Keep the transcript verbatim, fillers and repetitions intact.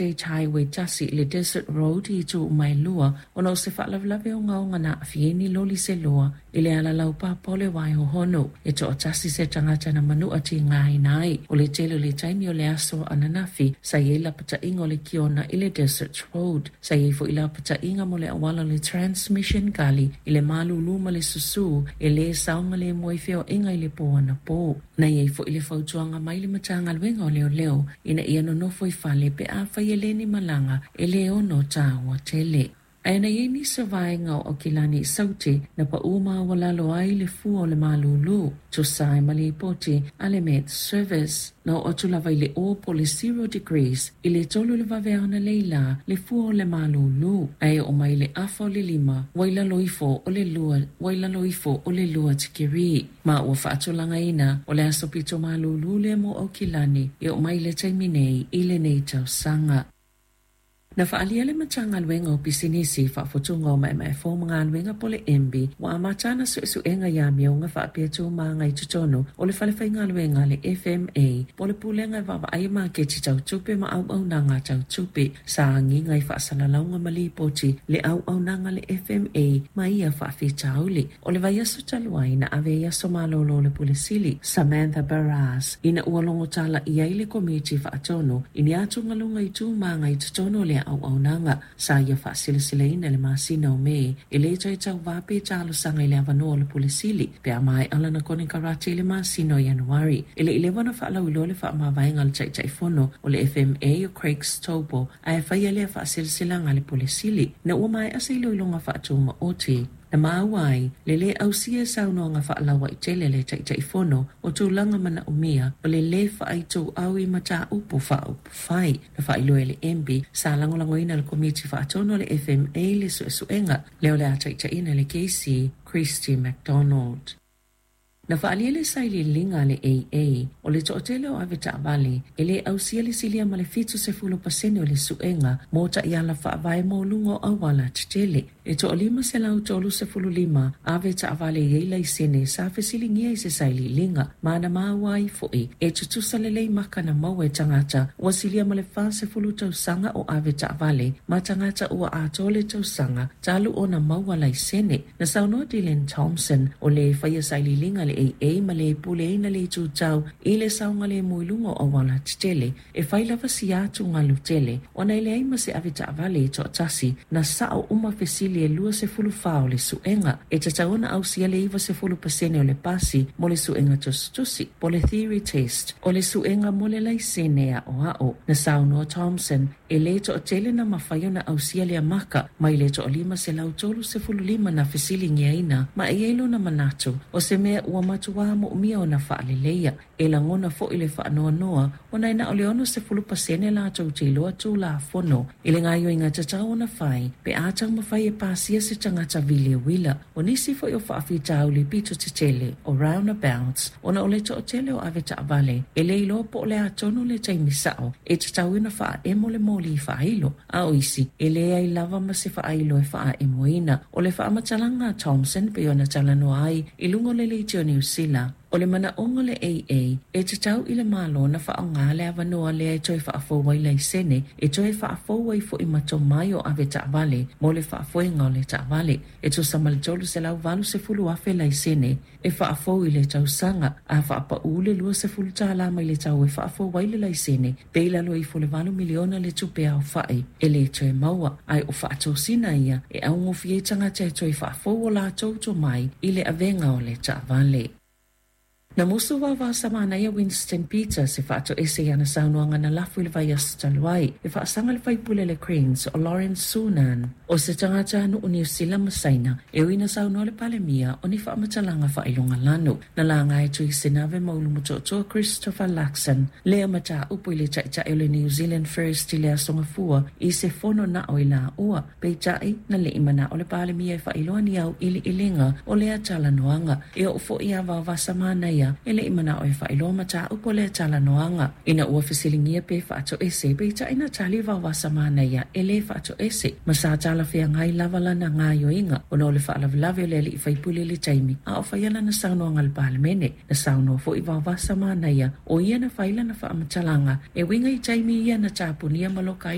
State Highway tasi i le Desert Road i itu uma e lua ona o se faalavelave ogaoga na aafia ai ni loli se lua i le ala laupapa o le Waihohonu. E toatasi se tagata na manua tigaina ai. O le tele o le taimi o le aso ananafi sa i ai lapataiga o le kiona i le Desert Road. Sa i ai foi lapataiga mo le auala o le Transmission Gully i le malūlū ma le susū e lē saogalemu ai feoaiga i le pō anapō. Na i ai foi le fautuaga mai le Matagaluega o Leoleo ina ia nonofo i fale pe afai e le ni malaga e lē ono taua tele. Ae na i ai nisi o vaega o Aukilani i Saute na paū maualalo ai le fua o le malūlū, tusa ai ma lipoti a le Met Service. Na oo atu lava i le o po o le zero degrees i le tolu i le vaveao analeila le fua o le malūlū, ae oo mai i le afa o le lima ua i lalo ifo o le lua ua i lalo ifo o le lua tikeri. Ma ua faatulagaina o le aso pito malūlū lea mo Aukilani e oo mai i le taimi nei i lenei tausaga. Na faaalia le Matagaluega o Pisinisi, Faafotuga o Maemaefou ma Galuega po o le M B ua amata ana suesuega i amioga faapea tumaga i totonu o le fale faigaluega a le F M A po o le Pulega e Vaavaaia Maketi Tau Tupe ma Auaunaga Tau Tupe. Sa agiga i faasalalauga ma lipoti le auaunaga a le F M A ma ia faafitauli. O le vaiaso talu ai na ave ai aso malolo le Pule Sili Samantha Barras ina ua logotalaia ai le Komiti Faatonu i ni atugaluga i tumaga i totonu o le auaunaga. Sa ia faasilasilaina le masina o Me e lē toe tauvā pe talosaga i le avanoa o le Pule Sili pe a maea lana konekarate i le masina o Ianuari. E le i leva ona faalauiloa le faamavaega a le Taitaifono o le F M A o Craig Stobo, ae faia lea faasilasilaga a le Pule Sili ina ua maea se iloiloga faatumaoti na maua ai le lē ausia e saunoaga faalauaitele a le Taitaifono o tulaga manaomia o le lē faaituau i mataupu faaupufai. Na faailoa e le M B sa lagolagoina le Komiti Faatonu o le F M A le suesuega lea o le a taitaiina le K C Christy McDonald. Na faaalia le sailiiliga a le A A o le toatele o avetaavale e lē ausia le silia ma le fitu sefulu pasene o le suega mo taiala faavae mo luga o auala tetele. E toalima selau tolu sefulu lima avetaavale e i ai laisene sa fesiligia i se sailiiliga, ma na maua ai foi e tutusa lelei maka na maua e tagata ua silia ma le fa sefulu tausaga o avetaavale ma tagata ua atoa le tausaga talu ona maua laisene. Na saunoa Dylan Thompson o le faia sailiiliga a le A A ma le puleaina le itu tau i le saogalemu i luga o auala tetele e fai lava si atugalu tele ona e leai ma se avetaavale e toatasi na sao uma fesili e lua sefulu fa o le suega. E tatau ona ausia le iva sefulu pasene o le pasi mo le suega tusitusi po o le theory test o le suega mo le laisene aoao. Na saunoa Thompson e lē toatele na mafai ona ausia lea maka mai le toalima selau tolu sefulu lima na fesiligiaina, ma e i ai lona manatu o se mea ua matuā moomia ona faaleleia. E lagona foi le faanoanoa ona e na o le ono sefulu pasene latou te iloa tulafono i le gaoioiga tatau ona fai pe a taumafai e pasia se tagata vili uila. O nisi foi o faafitauli pito tetele o roundabouts ona o le toatele o avetaavale e lē iloa po o le a tonu le taimi sao e tatau ona faaemo le moli faailo, a o isi e leai lava ma se faailo e faaemoina. O le faamatalaga a Thompson pei ona talanoa ai i luga o le Leitio Niu Sila, o le manaoga o le A A e tatau i le Malo na faaaogā le avanoa lea e toe faafou ai laisene, e toe faafou ai foi ma tomai o avetaavale mo le faafoega o le taavale. E tusa ma le tolu selau valu sefulu afe laisene e faafou i le tausaga. A faapaū le lua sefulu tālā mai le tau e faafou ai le laisene, pe i lalo ifo le valu miliona le tupe aofa'i e lē toe maua, ae o faatosina ia e augofie ai tagata e toe faafou o latou tomai i le avega o le taavale. Na musu vaovaosamanaia Winston Peters e faatoese i ana saunoaga na lafo i le vaiaso talu ai e faasaga le faipule le Greens o Lawrence Sunan o se tagatanuu Niu Sila ma Saina e ui na saunoa le Palemia o ni faamatalaga faailogalanu. Na laga e Tui Sinave ma Ulumotootua Christopher Luxon lea mataupu i le taitai o le New Zealand First i le aso Gafua i se fono na o i laua. Peitai na lei manao le Palemia e faailoa ni auiliiliga o lea talanoaga. E oo foi ia Vaovasamanaia e lei manao e faailoa mataupu o lea talanoaga. Ina ua fesiligia pe faatoese, peitai na tali Vaovasamanaia e lē faatoese ma sa talafeagai lava lana gaoioiga ona o le faalavelave o le alii faipule i le taimi a o faia lana saunoaga i le Palemene. Na saunoa foi Vaovasamanaia o ia na fai lana faamatalaga e uiga i taimi ia na tapunia ma loka ai.